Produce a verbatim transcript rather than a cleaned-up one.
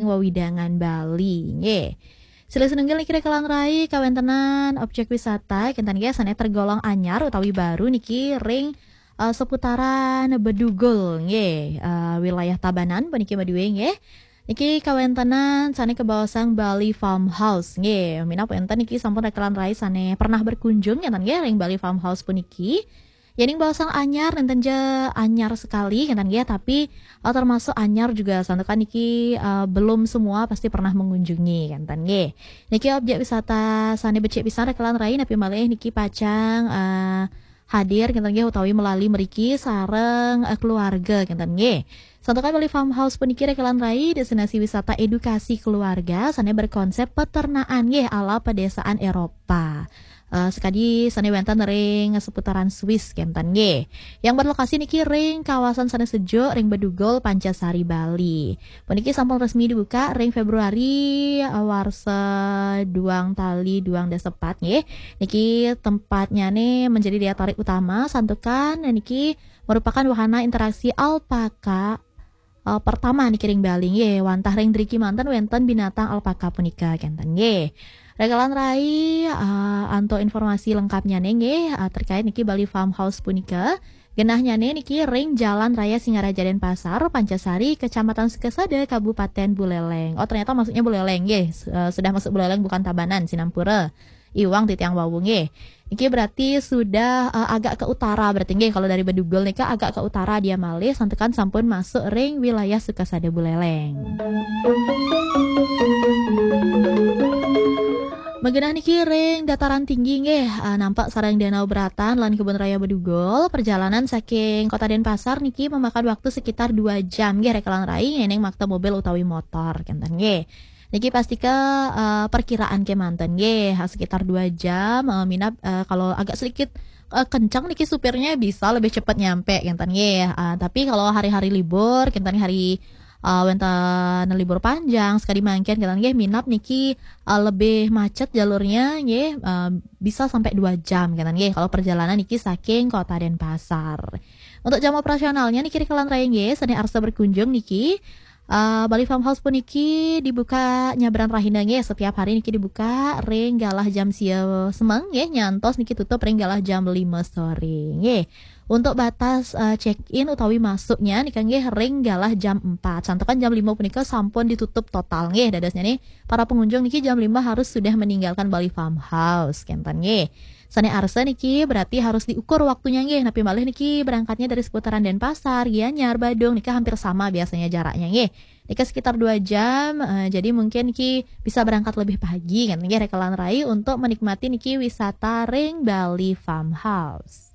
wewidangan Bali nggih. Silih sinunggil niki rekelan rai kawéntenan objek wisata kinten nggih sané tergolong anyar utawi baru niki ring eh, seputaran Bedugul nggih, eh, wilayah Tabanan puniki madué nggih. Niki kawéntenan sané kabaosang Bali Farmhouse nggih. Minab wénten niki sampun rekelan rai sané pernah berkunjung kinten nggih ring Bali Farmhouse puniki. Yéning baosang anyar nénten ja anyar sekali kinten nggih, tapi eh, termasuk anyar juga santukan niki eh, belum semua pasti pernah mengunjungi kinten nggih. Niki objek wisata sané becik pisan rekelan rai napi malih niki pacang eh, hadir kinten nggih utawi melali mriki sareng eh, keluarga kinten nggih. Santukan Bali Farmhouse puniki rekelan rai destinasi wisata edukasi keluarga sané berkonsep peternakan nggih ala pedesaan Eropa. Eh, sekadi sané wénten ring seputaran Swiss kinten nggih. Yang berlokasi niki ring kawasan sané sejuk ring Bedugul Pancasari Bali. Puniki sampun resmi dibuka ring Februari eh, warsa duang tali duang dasa pat nggih. Niki tempatnya nih menjadi daya tarik utama santukan niki merupakan wahana interaksi alpaka eh, pertama niki ring Bali nggih. Wantah ring driki manten wénten binatang alpaka punika kinten nggih. Rekelan rai eh, antuk informasi lengkapnya nih nggih eh, terkait niki Bali Farmhouse punika. Genahnya nih niki ring Jalan Raya Singaraja Denpasar, Pancasari, Kecamatan Sukasada, Kabupaten Buleleng. Oh, ternyata maksudnya Buleleng nggih. S- eh, sudah masuk Buleleng bukan Tabanan, sinampura. Iwang titiang wau nggih. Niki berarti sudah eh, agak ke utara berarti nggih kalau dari Bedugul nika agak ke utara dia malih santukan sampun masuk ring wilayah Sukasada Buleleng. Magenah niki ring dataran tinggi nggih, eh, nampak sareng Danau Beratan lan Kebun Raya Bedugul. Perjalanan saking Kota Denpasar niki memakan waktu sekitar dua jam nggih rekelan rai ngening makta mobil utawi motor kinten nggih. Niki pastika eh, perkiraan kemanten nggih, sekitar dua jam eh, minab eh, kalau agak sedikit eh, kencang niki supirnya bisa lebih cepat nyampe kinten nggih. Eh, tapi kalau hari-hari libur kinten hari eh, wénten libur panjang sekali mangkin kinten nggih minab niki eh, lebih macet jalurnya nggih eh, bisa sampai dua jam kinten nggih kalau perjalanan niki saking Kota Denpasar. Untuk jam operasionalnya niki rekelan rai nggih sané arsa berkunjung niki eh, Bali Farmhouse puniki dibuka nyabran rahina nggih setiap hari niki dibuka ring galah jam sia semeng nggih nyantos niki tutup ring galah jam lima sore nggih. Untuk batas eh, check in utawi masuknya nika nggih ring galah jam empat. Santukan jam lima punika sampun ditutup total nggih dadosnya nih para pengunjung niki jam lima harus sudah meninggalkan Bali Farmhouse kinten nggih. Sané arsa niki berarti harus diukur waktunya nggih. Napi malih niki berangkatnya dari seputaran Denpasar, Gianyar, Badung nika hampir sama biasanya jaraknya nggih. Nika sekitar dua jam, eh, jadi mungkin niki bisa berangkat lebih pagi kan nggih rekelan rai untuk menikmati niki wisata ring Bali Farmhouse.